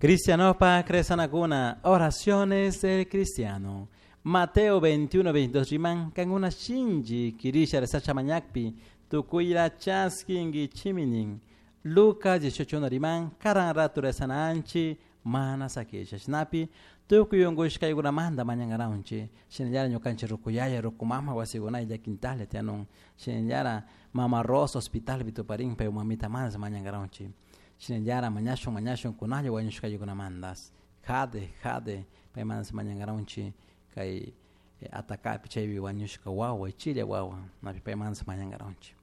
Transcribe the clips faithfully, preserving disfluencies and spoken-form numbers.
Cristianopa rezanakuna, oraciones del cristiano. Mateo veintiuno, veintidós riman, kankuna shinchi quirisha rezasha mañakpi, tukuyla chaskinkichimi nin. Lucas dieciocho uno riman, karan ratu rezananchi, mana sakisha. Shinapi, tukuy unkushkaykunamanta mañankaranchi. Shinallara ñukanchik rukuyaya, rukumama wasikunay llaquintalla tianun. Shinallara Mama Rosa hospital bituparin, pay mamita manas mañankaranchi. Shinallara mañashun, mañashun kunalla wañushkaykunamantas. Jade, jade, pay manas mañankaranchi. Kay atakapi chaypi wañushka wawa, chilla wawa, napi pay manas mañankaranchi.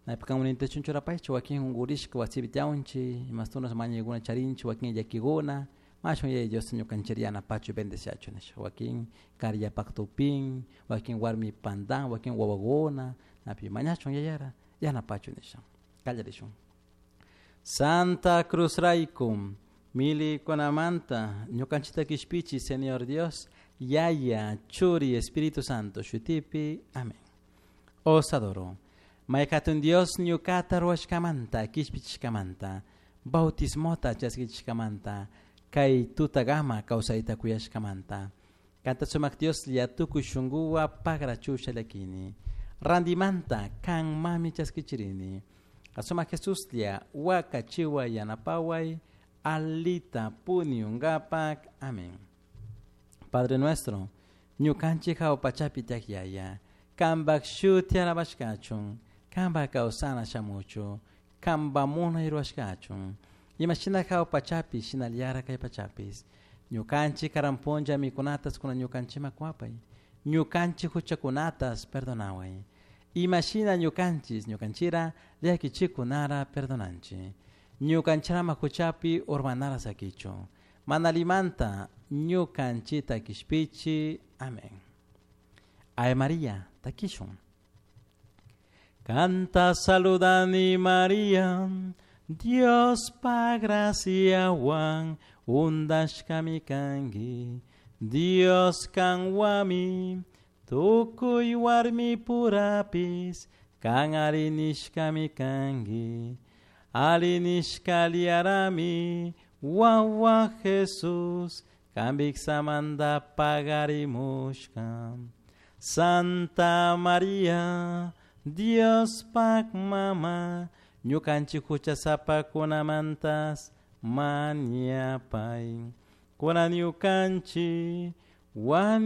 Napi kamuninta chunchurapaychu, wakin unkurishka wasipi tiaunchi, imastunas mañaykuna charinchi, wakin llakikuna, mashun yaya Dios ñukanchik yanapachu bendeciachu nisha. Wakin karillapak tupin, wakin warmi pandan, wakin wawakuna, napi mañashun yayara yanapachu nisha. Kallarishun. Santa Cruz raykum, milikunamanta, ñukanchikta kishpichi, Señor Dios, Yaya, Churi, Espíritu Santo, shutipi, amén. Os adoro. Maykatun Dios ñukata ruwashkamanta, kishpichishkamanta, bautismota chaskichishkamanta, kay tutagama kawsayta kuyashkamanta. Kanta sumak Dios llatukuy shunkuwa pagrachusha llakini. Randimanta kan mami chaskichirini. Asumak Jesus lla wakachiwa yanapaway, alita puniungapak. Amén. Padre nuestro, ñukanchik hawpachapi tiyak yaya, kanpak shuti alabashkachun, kanpak kawsana shamuchu, kanpa munay ruwashkachun. Imashina hawpachapi shinallara kay pachapis. Ñukanchik karan puncha mikunatas kuna ñukanchikman kuwapay. Ñukanchik huchakunatas perdonaway. Imashina ñukanchis ñukanchira llakichikunara perdonanchik. Ñukanchirama huchapi urmanara sakichu. Manalimanta ñukanchita kishpichi. Amén. Ave María, takishun. Canta saludani María, Dios pa graciawan undashkami kanki, Dios kanwami, tukuy warmi purapis, kan arinishkami kanki, arinishkaliarami, wawa Jesús, kambiksamanta pagarimushka. Santa María, Dios pak mama, ñukanchik huchasapakunamantas mañapay. Kuna ñukanchik wañu